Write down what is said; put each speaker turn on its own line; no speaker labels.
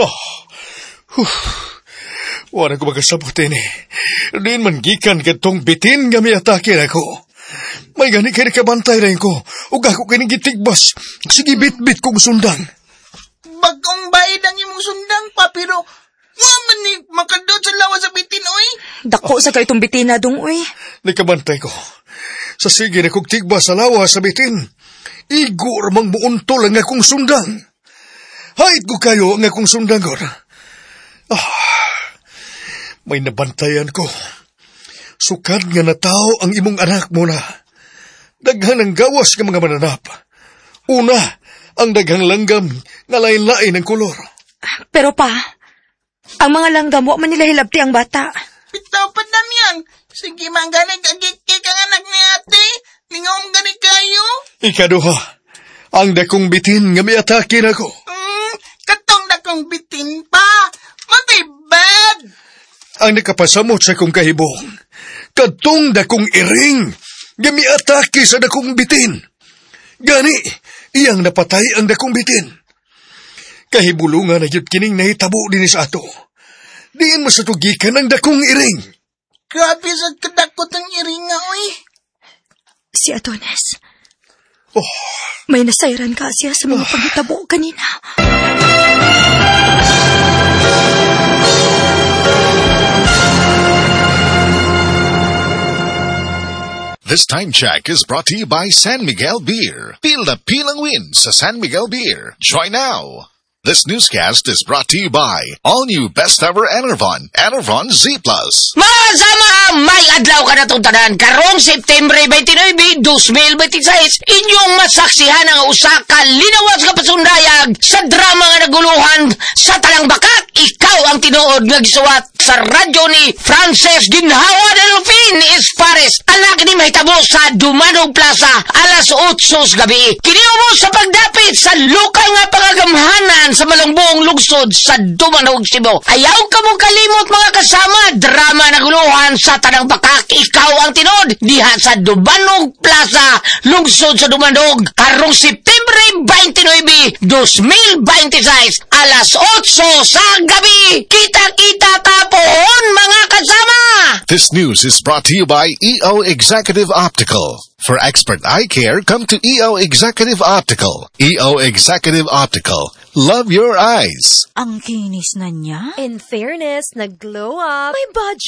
Oh, huh. Wala ko makasabot ini. Diin man gikan kadtong bitin nga miatake nako. May gani kay nakabantay rin ko. Ug ako kini gitigbas. Sige, bit-bit kong sundang.
Bagong bayad ang imong sundang pa, pero wa man ni makadot sa lawas sa bitin, oy.
Dako sa kay itong bitina dong, uy.
Nakabantay ko. Sa sige na kong tigbas sa lawas sa bitin. Igo ramang muuntol ang akong sundang. Hait ko kayo ang akong sundang, gor. Ah, may nabantayan ko. Sukad nga natao ang imong anak mo na. Daghan ang gawas nga mga mananap. Una, ang daghang langgam nga lain-lain ang kolor.
Pero pa, ang mga langgam wa man nila hilabti ang bata.
Bitaw pa, Damian. Sige, manggaling kagikik ang anak ni ate. Lingaw gani kayo.
Ikaduha, ang dakong bitin nga miatake nako.
Katong dakong bitin pa. Matibad.
Ang nakapasamot sa kong kahibong, katong dakong iring nga miatake sa dakong bitin. Gani, iyang napatay ang dakong bitin. Kahibulungan na gyud kining nahitabo dinhi sa ato. Diin mo sa tugikan ang dakong iring.
Grabe sa kadakot ang iring nga, oy.
Si Adonis.
Oh.
May nasayran ka siya sa mga panghitabo kanina.
This time check is brought to you by San Miguel Beer. Feel the pilang win sa San Miguel Beer. Join now. This newscast is brought to you by all new best ever Enervon, Enervon Z+.
Masama, may adlaw ka na itong tanan. Karong September 29, 2026, inyong masaksihan ang usa ka linawas nga pasundayag sa drama nga naguluhan sa Talang Bakak. Ikaw ang tinuod nga gisuwat sa radyo ni Frances Ginhawa Delfin Espares. Anak ni mahitabo sa Dumanog Plaza alas 8 sa gabi. Kiniubo sa pagdapit sa lokal nga pangagamhanan sa malungbuong lungsod sa Dumanog, Cebu. Ayaw ka mong kalimot mga kasama, drama na guluhan sa Tanang Bakak. Ikaw ang tinuod diha sa Dumanog Plaza, lungsod sa Dumanog, karong September 29, 2026, alas 8 sa gabi. Kita-kita tapon mga kasama!
This news is brought to you by EO Executive Optical. For expert eye care, come to EO Executive Optical. EO Executive Optical. Love your eyes.
Ang kinis na niya.
In fairness, nag-glow up.
May budget.